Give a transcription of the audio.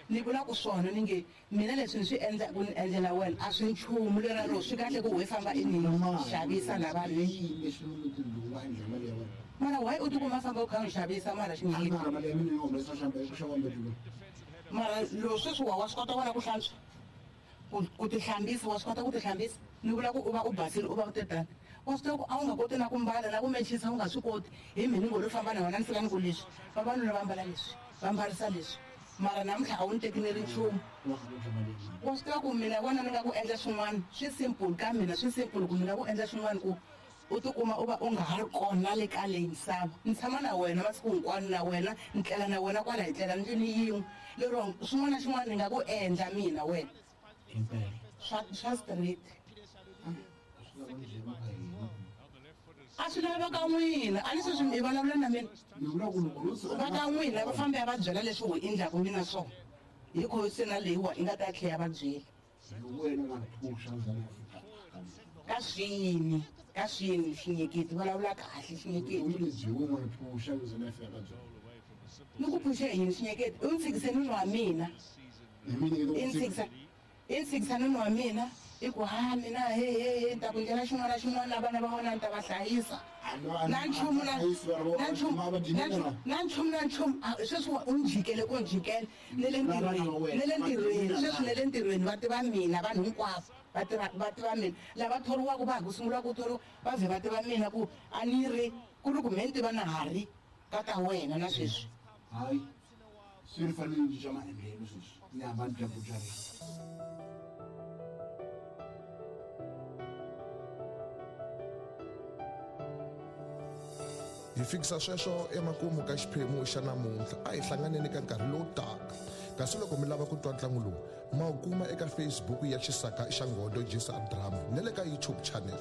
Ni vula ku swona ni nge mina leswi ni swi endlaku ni endlela wena a swi nchumu leraro swi kahle ku we famba i ni xavisa la vanhwini. Mara why u tikuma famba u kha u ni xavisa mara xinyiki? Mara lo sweswi wa wa swi kota wena ku hlantswa? Ku ku tihlambisa wa swi kota ku tihlambisa? Ni vula ku u va u basile u va u te tani. Wa swi tiva ku a wu nga koti na ku mbala na ku mechisa u nga swi koti hi mhe ni ngo lo famba na wena ni fika ni ku leswi vavanuna va mbala leswi va mbarisa leswi mara namuntlha a wu ni teki ni ri nchumu. Wa swi tiva ku mina wena ni nga ku endla swin'wana swi simple ka mina swi simple ku ni nga ku endla swin'wana ku u tikuma u va u nga ha ri kona le ka leyi misava. Ni tshama na wena masiku hinkwawo na wena ni tlela na wena kwala hi tlela ndlwini yin'we lero xin'wana na xin'wana ni nga ku endla mina wena. Swa swa straight. A swi lava ka n'wina a ni sweswi mi vulavula na mina va ka n'wina va fambe ya va byela leswi u endlaku mina swona hi kho se na leyiwa i nga ta tlhe ya va byela. Ka swini ka swini xinyeketi vulavula kahle xinyeketi. Ni ku phuxe hi yini xinyeketi u ni tshikise nuna wa mina i ni tshikisa i ni tshikisa nuna wa mina i ku ha mina he he he ni ta ku ndlela xin'wana na xin'wana na vana va wena ni ta va hlayisa na nchumu na na nchumu na nchumu na nchumu sweswi u ni jikele ku ni jikela ne le ntirhweni ne le ntirhweni sweswi ne le ntirhweni va tiva mina vanhu hinkwavo va tiva va tiva mina lava thoriwaka va ha ku sungula ku thoriwa va vhe va tiva mina ku a ni ri ku ri ku me ni tiva na ha ri ka ta wena na sweswi. Hayi se ni fanele ni cinca maendlelo sweswi ni hamba ni dya buchareni. Hi fikisa sweswo emakumu ka xiphemu xa namuntlha. A hi hlanganeni ka nkarhi lowu taka. Kasi loko mi lava ku twa ntlangu lowu, ma wu kuma eka Facebook ya Xisaka xa Nghodo Jisa Drama na le ka YouTube channel.